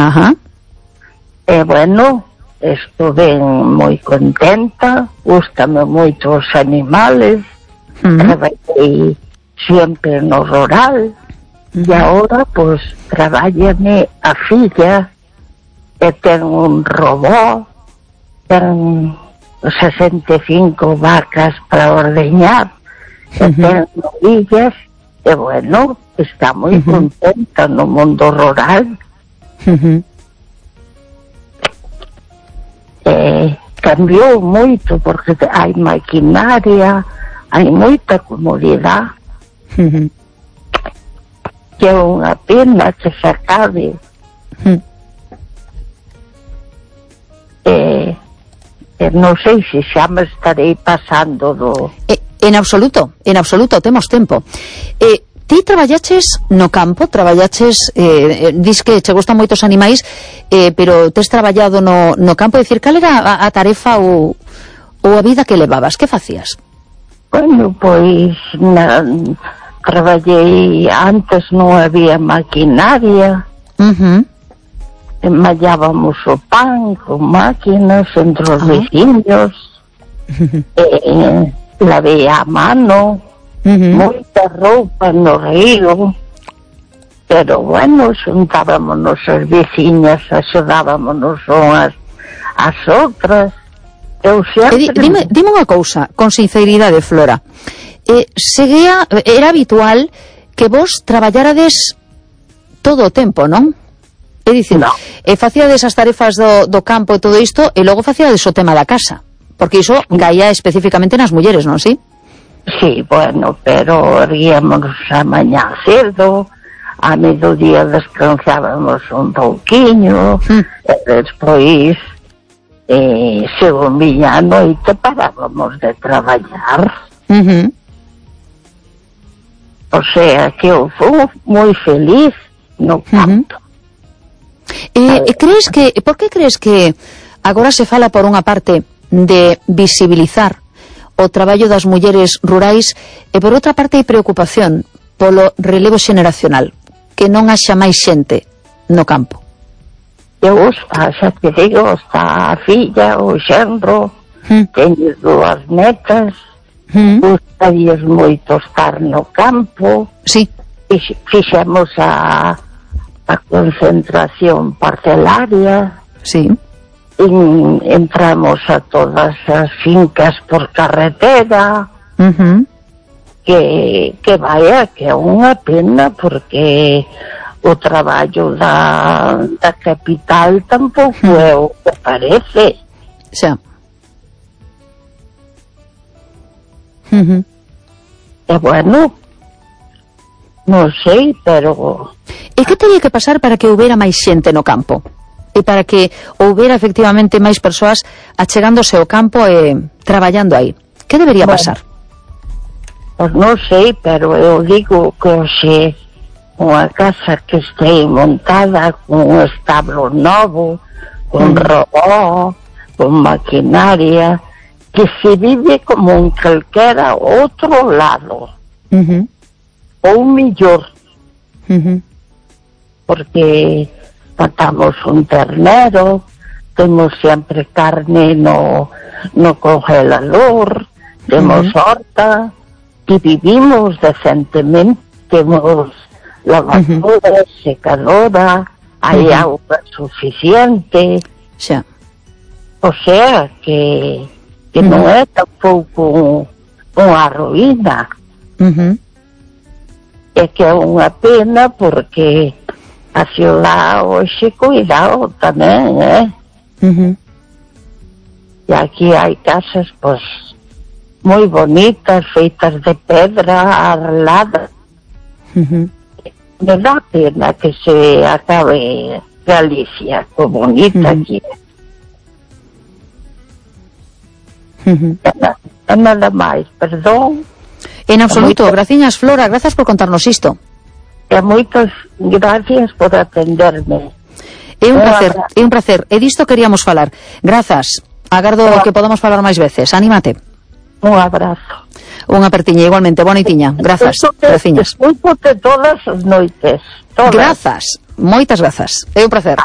Ajá. Bueno, estuve moi contenta, gústame moito os animales, traballei sempre no rural, e agora, pois, trabállame a filla, e ten un robot, ten 65 vacas para ordeñar, e ten novillas, e bueno, está moi contenta no mundo rural. Cambiou moito porque hai maquinaria, hai moita comodidade, que é unha pena que se acabe. Non sei se xa me estarei pasando do... En absoluto, temos tempo. Ti traballaches no campo, dis que che gustan moitos animais, pero tes traballado no campo, é dicir, cal era a tarefa ou a vida que levabas? Que facías? Bueno, pois traballei, antes non había maquinaria, mallábamos o pan con máquinas entre os veciños, lavei a mano, moita roupa no río, pero bueno, xuntábamonos as veciñas, axudábamonos unhas as outras. Eu sempre... Dime unha cousa, con sinceridade, Flora, era habitual que vos traballárades todo o tempo, non? É dicir, facíades as tarefas do campo e todo isto, e logo facíades o tema da casa, porque iso caía especificamente nas mulleres, non, si? Sí, bueno, pero erguíamos a mañá cedo, a mediodía descansábamos un pouquiño, e despois, según viña a noite, parábamos de traballar. O sea, que eu fui moi feliz no campo. Por que crees que agora se fala por unha parte de visibilizar o traballo das mulleres rurais e por outra parte hai preocupación polo relevo xeneracional, que non haxa máis xente no campo? Eu xa te digo, está a filla, o xenro, teño 2 netas, gustarías moito estar no campo. Sí. Fixemos a concentración parcelaria. Sí. Entramos a todas as fincas por carretera, que vaya, que é unha pena, porque o traballo da capital tampouco é o que parece. Xa. E bueno, non sei, pero... E que teria que pasar para que houbera máis xente no campo? E para que houbera efectivamente máis persoas achegándose ao campo e traballando aí? Que debería pasar? Pois non sei, pero eu digo que hoxe unha casa que este montada con un establo novo, con robot, con maquinaria, que se vive como en calquera outro lado, ou mellor, porque matamos un ternero, temos sempre carne no congelador, temos horta, e vivimos decentemente, temos lavadora, secadora, hai auga suficiente, xa. O sea que non é tampouco unha ruína. É que é unha pena porque a ciudad hoxe cuidado tamén, E aquí hai casas, pois, moi bonitas, feitas de pedra, arreladas. Me dá pena que se acabe Galicia, que bonita aquí. Nada máis, perdón. En absoluto, graciñas, Flora, grazas por contarnos isto. E moitas gracias por atenderme. É un placer, e disto queríamos falar. Grazas, agardo que podamos falar máis veces. Anímate. Un abrazo. Unha apertiña, igualmente, boa noitiña. Grazas, graciñas. Escúchote todas as noites. Grazas, moitas grazas. É un placer.